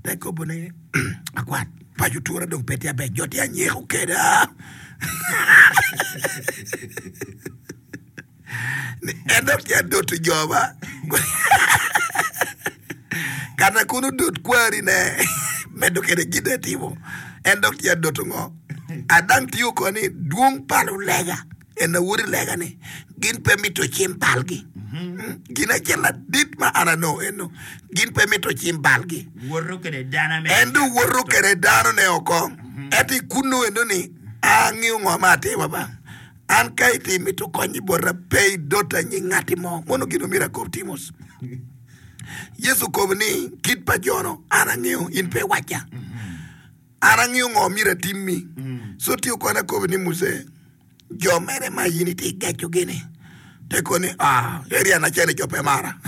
Te kobo ni akwat paco tura dong pe tye aber jo tye anyeko keda. En dok tye adoto jo ba. Kata kun odot kwari ne medo kede gin etimo. En dok tye adoto ngo? Adang tiyo ko ni dwong pa lulega en awoti lega ni gin pe mito cim balgi. Gin acel ladit ma an anongo eno gin pe mito cim balgi. Woto kede dano me En dong woto kede dano ne oko. Ento i kunnu eno ni angeyo ngo ma atimo ba. An ka itye mito kony i bota pe idota nying ngati mo. Mono gin omyero akob Timos. Yecu okobo ni kit pa jo-nu an angeyo in pe iwacca. An angeyo ngo myero atimmi. So tye okone akobo ni Muse, jo mene ma in itye gecogi ni? Te koni ni, Ah, eri an acel jo pe mara.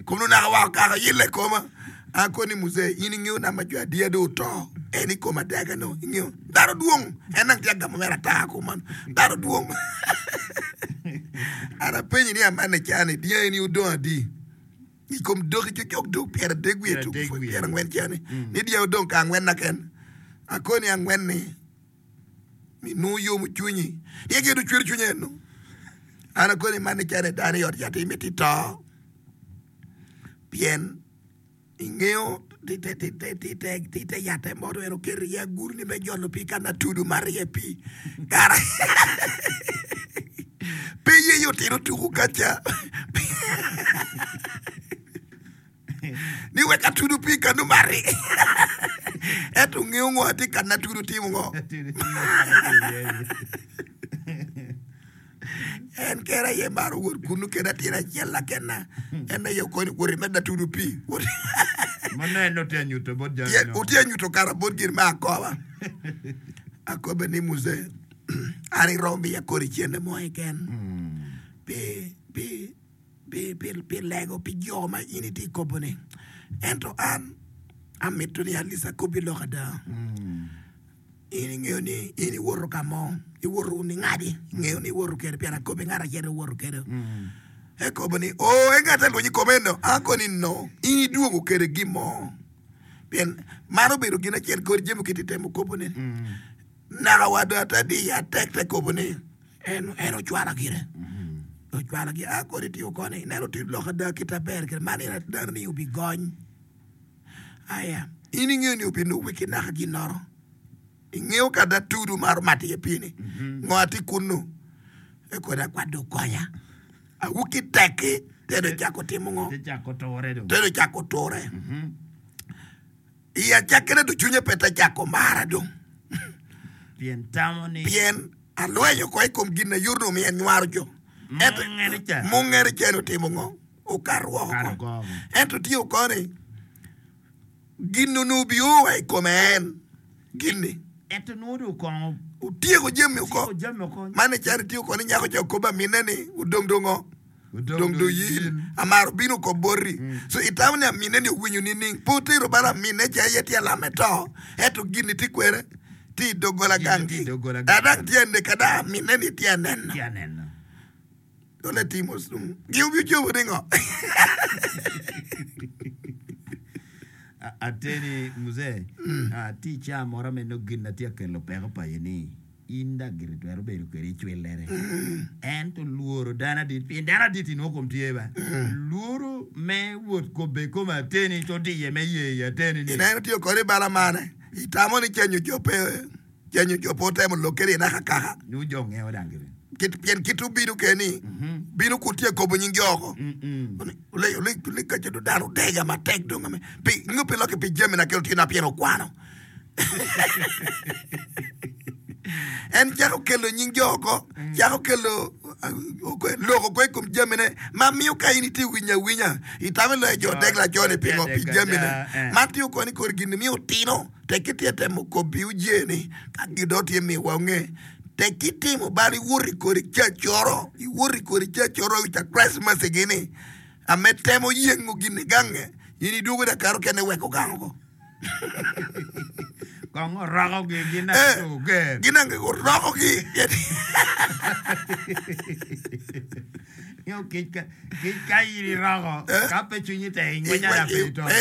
Kun onaka wa okako yille i koma. Akoni ni Muse, in ingeyo namba jo adiya dong oto en i kom adega no, ingeyo. Dano dwong, en dong tye agamo mere ata kuman. Dano dwong. An apenyi ni amanne cani, dyangi ni odong adi? I kom doki cocok dog pyeradek wiye tuk pyerangwen cani ni dyangi odong ka angwen na ken. Akoni angwen-ni mi nongo yomo cwinyi. Ni gin ocwero cwinya eno. An akoni man ni cani dano i ot yat imiti to pien ingeyo tite yatte mo to en oketo iye agulu ni me jolo pii ka na tudo mato iye pii kara pe ye otino tuko kaca ni wek atudo pii kanu mati ento ngeyo ngo atye ka na tudo timo ngo En kene aye maro wot kunnu kede atin acel lakena. En aye okonyo wot imed atudo pii. Wot Ma nongo en otye anyuto bot jami Pien no. otye anyuto kara bot gin me akoba. Akobe ni Muse, an iromo miya kodi cente mo keken pi pi pi pi pi lego pi jo ma in itye kobo-ni. Ento an amito ni at least akobi lok ada. In ingeyo ni in iwoto ka mo, iwoto ningadi, ingeyo ni iwoto kede pien akobi ngat acel iwoto kede. Ekobo ni, oo, en ngat alweny i kome eno. Ako ni, no, in idwogo kede gin mo. Pien man obedo gin acel kodi jami kiti temo kobo ni. Naka wa do ata di ya tek te kobo ni en en ocwala gire. Ocwala gire. A kodi tiyo koni, ineno tye lok ada kite aber kede man en adano ni obigony. Aya, in ingeyo ni obinubbe ki naka ginnoro? Ingeyo ka da tudu maro mato iye pii-ni? Ngo atye kunnu? Eko da kwat dong konya. Awuki tekki, te dong cako timo ngo? Te cako ture dong. Te dong cako ture. I acakkine dong cwinye pe te cako mara dong. Pien tamo ni. Pien alwenyo oko i kom gin ayuto omiyo anywaro jo. Ento Mungere ca. mungere ca ni otimo ngo? Okato woko. Ento tye oko ni gin onongo bio wa i kome en gin-ni. Ento nongo dong kong otyeko jami oko. Man ecalo tye oko ni nyako ca okobo aminne ni odong dong ngo? Odong dong yil. Amaro obino oko boti. So itamo ni aminne ni owinyo nining? Pe otero bal aminne ca aye tye alame to. Ento gin-ni tye kwene? Tye i doggola gangi. Adang tye aneka dong aminne ni tye aneno. Dole timo sum. Gin obi cobo ni ngo? Ateni mzee, ah, tye i caa moro me nongo gin na tye ka kelo peko paco ni in dok gire twero bedo kwede icwillere. Ento lworo dano adit, pien dano adit inongo kom tye ba. Lworo me wot kobbe i kom ateni ci odiye me ye i ateni ni. Ineno tye kodi bala mane? Itamo ni cenyo jo pe Cenyo jo pe otemo lok kede inaka kaka. Nyo jo ngeyo dang gire. Kit, pien kit obino kede ni, bino kun tye kobo nying jo oko. Ole, ole, ole ka cedo dano odega matek dong ame. Pi, nyo pi lokke pi jami na kelo tye pien okwano. En cako kelo nying jo oko, cako kelo lok oko i kom jamine ma miyo ka in itye winyo awinya, itamo iloyo jo odeg laco-ni pingo pi jamine. Man tye oko ni kodi gin-ni miyo otino. Tekki tye temo kobbi uje ni ka gidot tye miwa onge. Tekki timo bal iwot i kodi cacoro, iwot i kodi cacoro i ca Christmas igi ni ame temo yengo gin i gange, in idwogo dakar okene weko gang oko. Kong orokogi gin Eh, oger. gin ange orokogi. Nyo kic ka kic ka in iroko Eh. ka pe cwinyi tek ingwenya dok pe ito. Eh, eh.